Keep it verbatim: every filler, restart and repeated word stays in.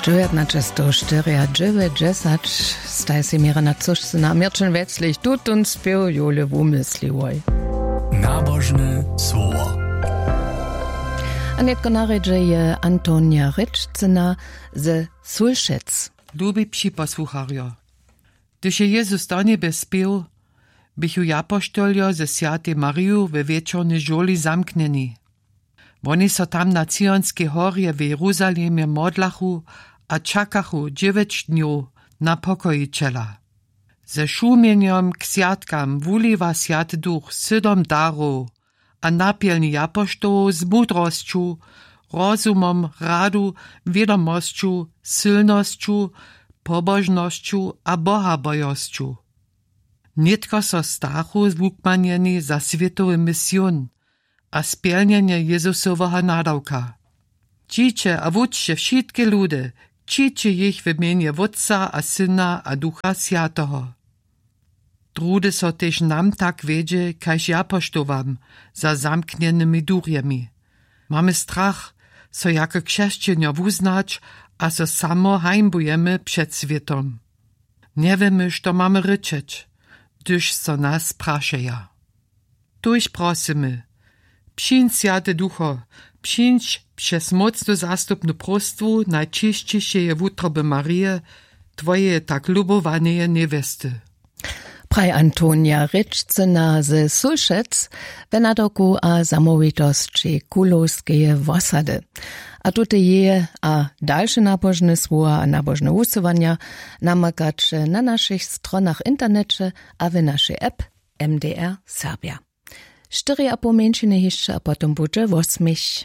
Dźewjatnaćestowštyriadźewjećdźesat. Staj sej měrjena což sy na měrćen wjeclich tutón spěw jowle wumysliłoj. Nabožne słowo. A nětko na rědźe je Antonija Rěčcyna ze Sulšec. Lubi připosłucharjo, hdyž je jezus do njebje spěł, běchu japoštoljo ze swjatej mariju we wječornej žurli zamknjeni. Woni so tam na cionskej horje w jeruzalemje modlachu a čakachu dźewjeć dnjow na pokojićela. Ze šumjenjom k swjatkam wuliwa swjaty duch sydom darow, a napjelni japoštołow z mudrosću, rozumom, radu, wědomosću, sylnosću, pobožnosću a bohabojosću. Nětko so stachu wukmanjeni za swětowy mision a spjelnjenje jezusoweho nadawka. Dźiće a wučće wšitke ludy, křiće jich w mjenje wótca a syna a ducha swjateho. Druhdy so tež nam tak wjedźe kaž japoštowam za zamknjenymi durjemi. Mamy strach, so jako křesćenjo wuznać, a so samo hańbujemy před swětom. Njewěmy što mamy rěčeć, hdyž so nas prašeja. Tuž prosymy: přińdź swjaty ducho, přińdź přez mócnu zastupnu próstwu najćišćišeje wutroby marije, twojeje tak lubowaneje njewjesty. Praj Antonija Rěčcyna ze Sulšec we nadawku a zamołwitosći kulowskeje wosady. A tute jeje a dalše nabožne słowa a nabožne wusyłanja namakaće na našich stronach w interneće a w našej app M D R Serbja. Štyri a poł mjeńšiny hišće a potom budźe wosměch.